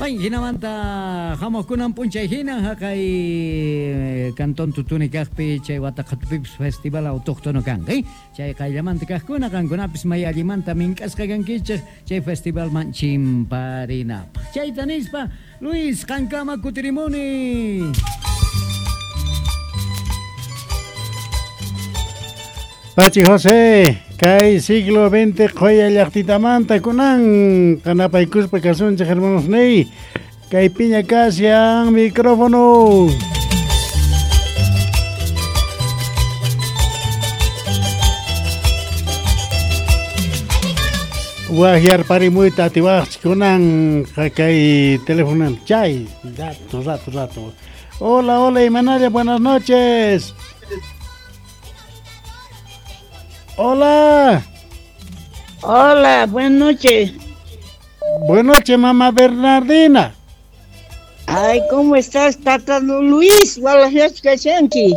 Bueno, jinamanta hamuqkunan p'unchay hina haqay cantón Tutuni kaqpi chay Wataqatupipis festival autóctono kanqa. Chay qayllamanta kaqkuna qankunapis may allimanta mink'asqa kankichik chay festivalman chimparinapaq. Chayta nispa Luis qankama kutirimuni. Pachi José, kay siglo XX qhoya llaqtitamanta kunan qanapaykuspa kasunchik hermanos ney, kay piña kashan micrófono. Wajyarparimuyta atiwaqchik kunan kay teléfono chay, rato, rato, rato. Hola, hola, Imanalla, buenas noches. Hola. Hola, buenas noches. Buenas noches, mamá Bernardina. Ay, ¿cómo estás, tata Luis? Walajyach kashanki.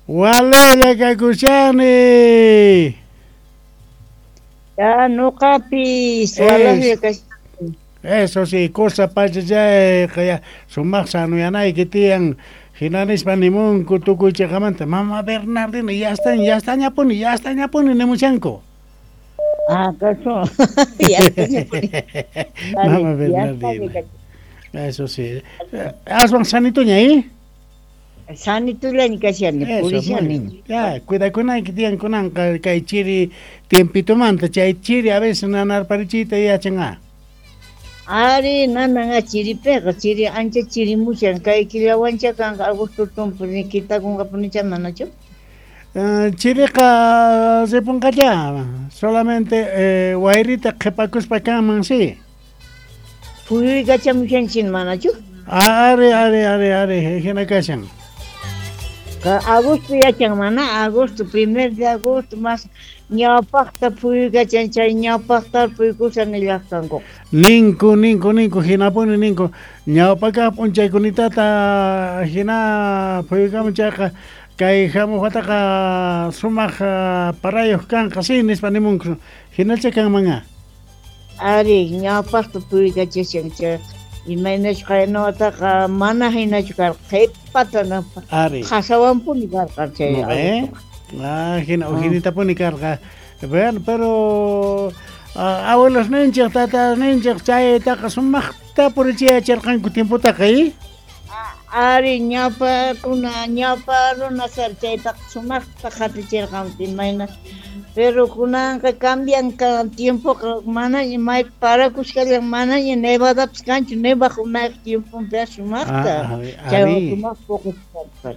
Walaya kakushani. Ya, noqapis, walajya kashanki. Eso sí, cosa pachachay, ya sumaq sanuyanayki tiyan. Hinanispa nimunku tukuy chiqamanta, mamá Bernardina, ya está, ya está ñapuni, ya está ñapuni nimushanku. Ah, caso. Ya está ñapuni. Mamá Bernardina. Eso sí. Aswan sanituña, ¿eh? Sanitullaña kashani, purishani. Ya, cuidakunayki tiyan kunanqa kay chiri tiempitumanta, chay chiri a veces nanarparichiyta yachan ah. Ari, nananga chiripiqa, chiri ancha chirimushan, kay killawancha kanqa agosto tumpuni kitakunqapunicha manachu? Chiriqa ripunqalla, solamente wayrita qhipakuspa kanman, sí. Phuyuykachamushanchin manachu? Ari, ari, ari, ari, hina kashan. Agosto yachan mana, agosto, primer de agosto, más ñawpaqta phuyuykachan chay ñawpaqta phuyukushan nillaqtanku. Ninku, ninku, ninku, hinapuni ninku. Ñawpakaq p'unchaykunitata hina phuyukamun chayqa kay hamuq wataqa sumaq parayuq kanqa, sí, nispa nimunku. Hinacha kanman. Ari, ñawpaqta phuyuykachashan chay imaynachu qayna wataqa mana hinachu karqa, qhipata Ari. qasawanpuni karqa chay. ¿Eh? Ah, hina, ujinitapuni karqa. Bueno, pero abuelos ninchik, tatas ninchik, chaytaqa sumaqta purichiyacharqanku tiempotaqa, ¿eh? Ari, ñawpa runa, ñawpa runa kar chaytaqa sumaqta qhatichirqanku imayna. Pero kunanqa cambian tiempoqa, manaña may parakushkallan, manaña nevadapas kanchu, nevaq unayq tiemponpi sumaqta. Chay sumaq puqusqa.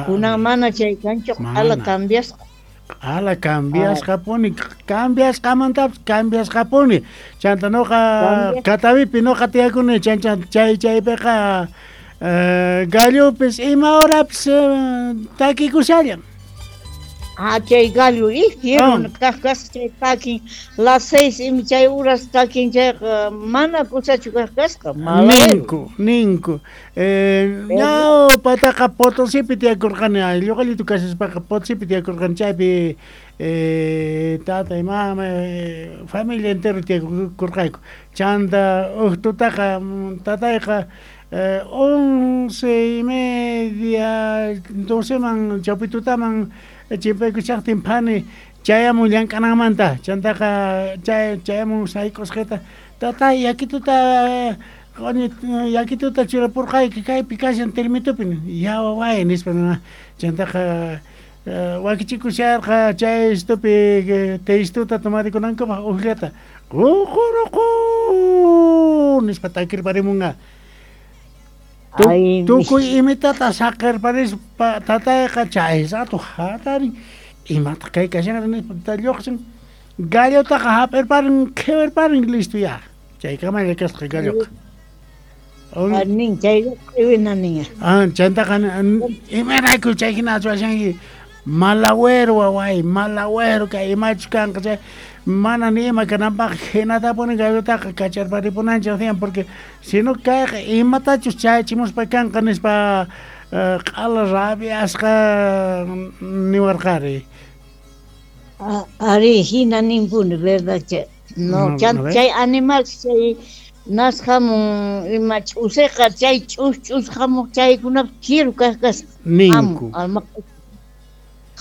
Kunan mana chay kanchu, q'ala cambiasqa. Q'ala cambiasqapuni, cambiasqamantapas cambiasqapuni. Chanta noqa Catavipi noqa tiyakuni, chan chay chaypiqa gallupis ima horapis takikushallan. Ah, chay gallo, fierro, kaq kasqa chay takin, las 6 ima chay horas takin chayqa mana kusachu kaq kasqa. Ninku, ninku. Ñawpataqa Potosipi tiyakurqani, lluqallitu kashaspaqa Potosipi tiyakurqani, chaypi tatay, mama, familia entero tiyakurqayku. Chanta uqtutaqa tatayqa 11:30, 12man chawpitutaman chimpaykushaqtin phani chayamun llank'ananmanta, chantaqa chayamun sayk'usqata, tatay yakituta yakituta churapurqayki kaypi kashan termitupi, ya waway nispa, chantaqa wakichikusharqa chay estupi teistuta tomarikunankupaq ujllata ququruqu nispa takirparimunqa. Tukuy imitata saqirparispa tatayqa chay rato hatarin, imataq kay kashanqa nispa lluqsin, gallotaqa hap'irparin, qhiwirparin, listo ya. Chaykamalla kasqa galloqa. Nin chay q'iwina nin. Ah, chantaqa imarayku chay hina ruwashanki, malagüero waway, malagüero kay imachus kanqa chay mana ni ima kananpaq hinatapuni gallotaqa kacharparipunanchik tiyan, porque si no kayqa imatachus chayachimuspa kanqa nispa q'ala rabiasqa niwarqari. Ari, hina ninpuni, verdad, chay. No, chay animal chay Nas hamun ima ch'useqa chay ch'us hamuq chaykunapi chiru kaq kasqa. Ninku.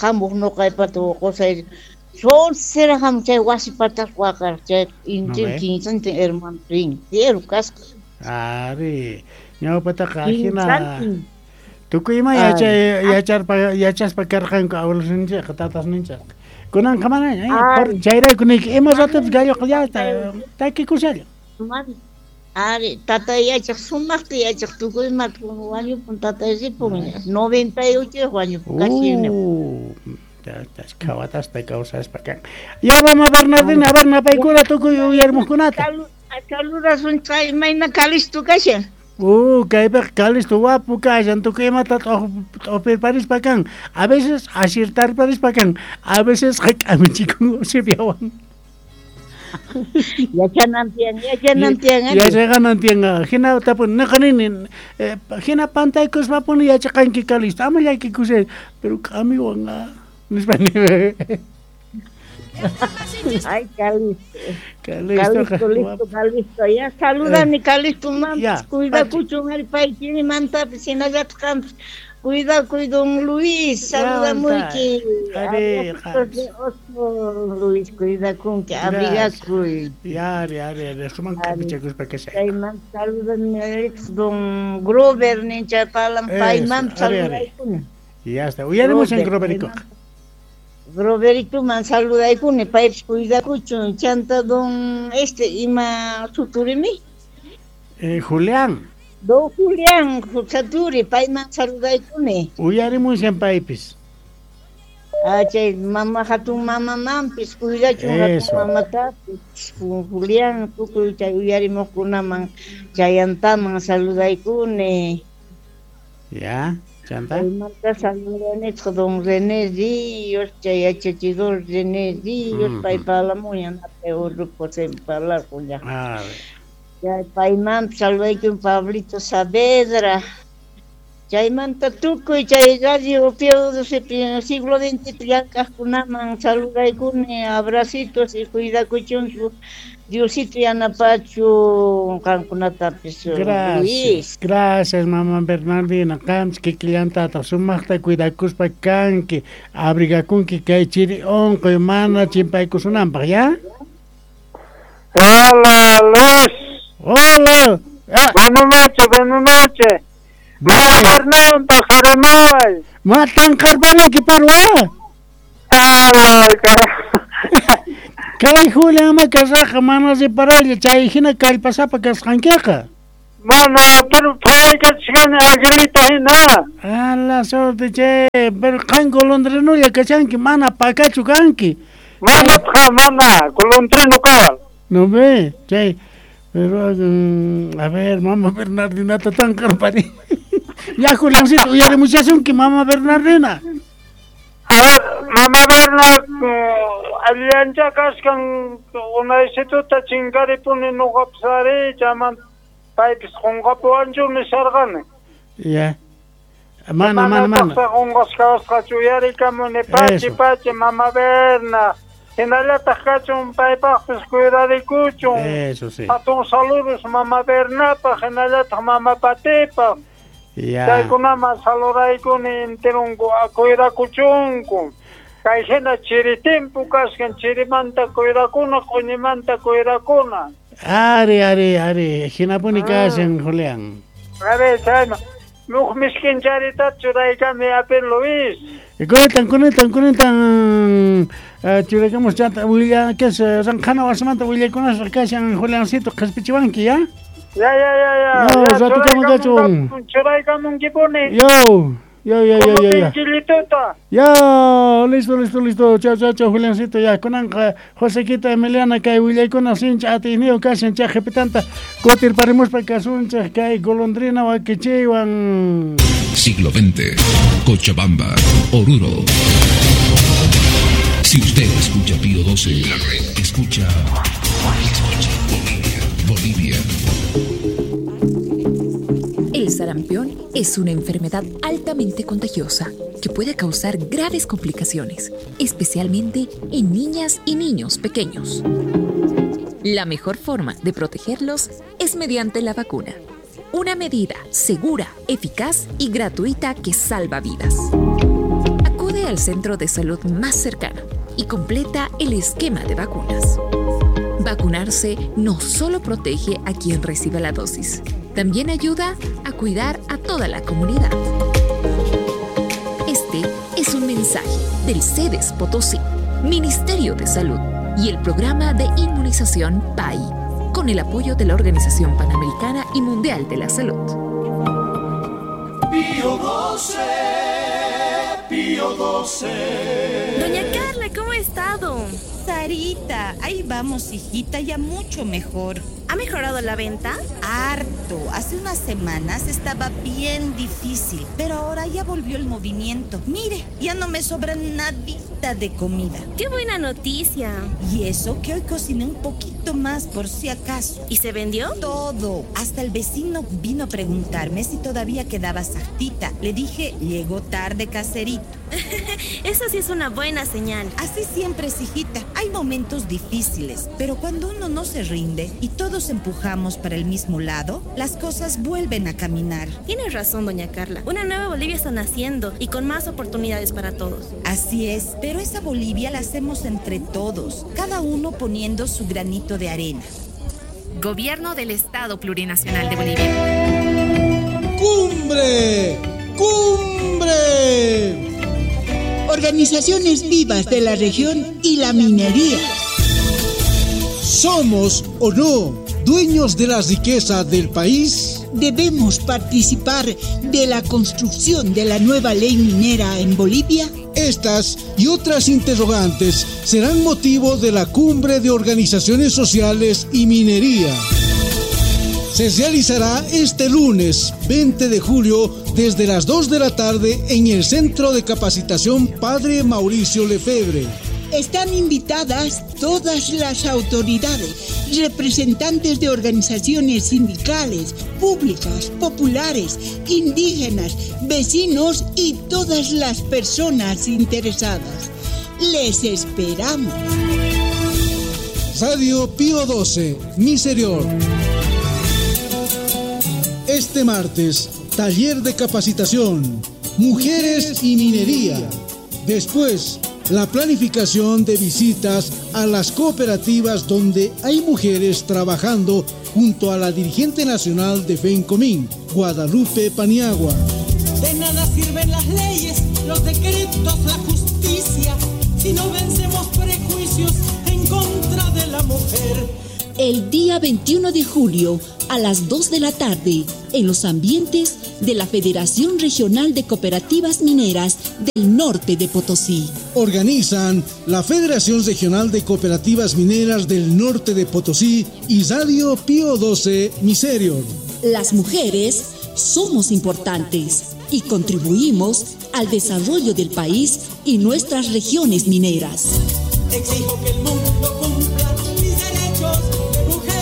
Hamuq nuqaypata qusay sonsera hamuq chay wasi patas waqar chay intin kinsantin hermano rin fiero kasqa. Ari, ñawpataqa ajina tukuy ima yachay yachaspa karqanku abuelosninchikqa tatasninchikqa. Kunanqa manaña, chayrayku niyki ima ratupis galloqa ya takikushalla. Ari, tatay yachaq sumaqta yachaq tukuy imata wañupun tatay ripun 98 wañupun casi. Khawatasta kawsaspa kan. Ya mama Bernardina, a ver napaykuna tukuy uyarimuqkunata. Saludasun chay imayna Calisto kashan. Kaypiqa Calisto wapu kashan tukuy imata t'upirparispa kan. A veces asirtarparispa kan, a veces k'amichikun sipiawan. Yachanan tiyan, yachanan tiyan. Yachaqanan tiyan. Hina tapun noqa nini, hina pantaykuspapuni yachaqanki Calisto, ama llakikushay, pero k'amiwan nispa nini. Ay, Calisto. Calisto, listo, Calisto. Ya, saludani Calisto, mam. Cuidakuchun ari pay chirimantapis hinallataq qampis. Cuidakuy don Luis, saludamuyki. Luis, cuidakunki, abrigakuy. Ya, ari, ari, ari, suman k'amichakuspa kashay. Chaymanta saludani don Grover nincha palan paymanpis saludaykuni. Ya está, uyarimushan Groveritoqa. Groveritoman saludaykuni, paypis cuidakuchun. Chanta don este ima suturimi? Julián. Don Julián Saturi, payman saludaykuni. Uyarimushan paypis. Chay mama hatun mamamanpis cuidachun hatun mamatapis. Julián tukuy chay uyarimuqkunaman chayantaman saludaykuni. Ya, chanta. Chaymanta saludanitaq don René Ríos, chay yachachidor René Ríos, pay parlamuña napay urrupo parlarqun ya. Paymanpis saludaykun Pablito Saavedra. Chaymanta tukuy chay radio Pío siglo XX llank'aqkunaman saludaykuni, abracitos y cuidakuchunku. Diosito yanapachu qankunatapis. Gracias, gracias mama Bernardina. Qamchis kikillantataq sumaqta cuidakuspa kanki, abrigakunki kay chiri unquy mana chimpaykusunanpaq, ya? Hola, Luis. Hola. Buenas noches, buenas noches. Mama Bernardo, pajarimaway. Matan qarpaniki parwa. Ay, carajo. Kay Julián ama kashaqa mana reparaylla chay hina kallpasapa kasqankiqa. Mana, pero phawaykachishkani aguilita hina. Ala suerte che, pero qan golondrinulla kashanki, mana pakachu kanki. Mana, mana, golondrino kawal. No ve, chay. Pero, a ver, mama Bernardina tan qarpani. Ya, Juliancito, uyarimuchasunki mama Bernardina. A ver, mama Berna, allancha kaskan unaysituta chinkaripuni nuqapis ari, chaman paypis qunqapuwanchu nisharqani. Ya. Mana, mana, mana. Qunqasqasqachu uyarikamuni, pachi, pachi, mama Berna. Hinallataq kachun paypaqpis cuidarikuchun. Eso sí. Hatun saludos mama Bernapaq, hinallataq mama Patipaq. Ya. Chaykunaman saluraykuni enterunku cuidakuchunku. Kay hina chiri timpu kaskan, chirimanta cuidakuna, q'uñimanta cuidakuna. Ari, ari, ari, hinapuni kashan, Julián. A ver, chayma. Muj miskin charitata churaykami apin Luis. Kunetan, kunetan, kunetan churaykamus chanta willa kas ranqhana wasimanta willaykunasqa kashan Juliancito qhispichiwanki, ya? Ya, ya, ya, ya. Yo, ratukama kachun. Churaykamunkipuni. Yo, yo, yo, yo, yo, yo. Yo, listo, listo, listo. Chao, chao, chao, Juliancito. Ya, kunanqa Josequita Emiliana kay willaykuna sincha atiyniyuq kashan chay qhipitanta kutirparimuspa kasunchik kay golondrina wakichiywan. Siglo XX, Cochabamba, Oruro. Si usted escucha Pío 12, la red escucha Bolivia, Bolivia. El sarampión es una enfermedad altamente contagiosa que puede causar graves complicaciones, especialmente en niñas y niños pequeños. La mejor forma de protegerlos es mediante la vacuna. Una medida segura, eficaz y gratuita que salva vidas. Acude al centro de salud más cercano y completa el esquema de vacunas. Vacunarse no solo protege a quien recibe la dosis, también ayuda a cuidar a toda la comunidad. Este es un mensaje del CEDES Potosí, Ministerio de Salud y el Programa de Inmunización PAI, con el apoyo de la Organización Panamericana y Mundial de la Salud. Pío 12, Pío 12. Doña Carla, ¿cómo ha estado? Sarita, ahí vamos, hijita, ya mucho mejor. ¿Ha mejorado la venta? Harto. Hace unas semanas estaba bien difícil, pero ahora ya volvió el movimiento. Mire, ya no me sobra nadita de comida. ¡Qué buena noticia! Y eso que hoy cociné un poquito más por si acaso. ¿Y se vendió? Todo. Hasta el vecino vino a preguntarme si todavía quedaba sartita. Le dije, llegó tarde, caserito. Eso sí es una buena señal. Así siempre es, hijita. Hay momentos difíciles, pero cuando uno no se rinde y todos empujamos para el mismo lado, las cosas vuelven a caminar. Tienes razón, doña Carla. Una nueva Bolivia está naciendo y con más oportunidades para todos. Así es, pero esa Bolivia la hacemos entre todos, cada uno poniendo su granito de arena. Gobierno del Estado Plurinacional de Bolivia. ¡Cumbre! ¡Cumbre! Organizaciones vivas de la región y la minería. ¿Somos o no dueños de la riqueza del país? ¿Debemos participar de la construcción de la nueva ley minera en Bolivia? Estas y otras interrogantes serán motivo de la Cumbre de Organizaciones Sociales y Minería. Se realizará este lunes 20 de julio desde las 2 de la tarde en el Centro de Capacitación Padre Mauricio Lefebvre. Están invitadas todas las autoridades, representantes de organizaciones sindicales, públicas, populares, indígenas, vecinos y todas las personas interesadas. Les esperamos. Radio Pío 12, Misereor. Este martes, taller de capacitación, Mujeres y Minería. Después, la planificación de visitas a las cooperativas donde hay mujeres trabajando junto a la dirigente nacional de FENCOMIN, Guadalupe Paniagua. De nada sirven las leyes, los decretos, la justicia, si no vencemos prejuicios en contra de la mujer. El día 21 de julio, a las 2 de la tarde, en los ambientes de la Federación Regional de Cooperativas Mineras del Norte de Potosí. Organizan la Federación Regional de Cooperativas Mineras del Norte de Potosí y Radio Pío 12 Misereor. Las mujeres somos importantes y contribuimos al desarrollo del país y nuestras regiones mineras. Exijo que el mundo cumpla mis derechos de mujer.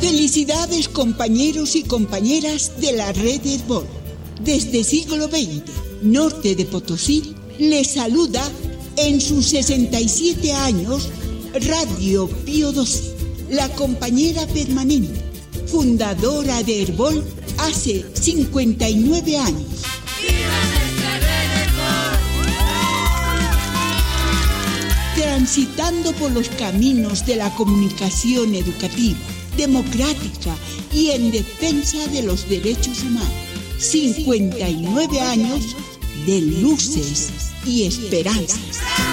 Felicidades, compañeros y compañeras de la Red Herbol. Desde siglo XX, Norte de Potosí les saluda en sus 67 años Radio Pío XII, la compañera permanente, fundadora de Herbol hace 59 años. Transitando por los caminos de la comunicación educativa, democrática y en defensa de los derechos humanos. 59 años de luces y esperanzas.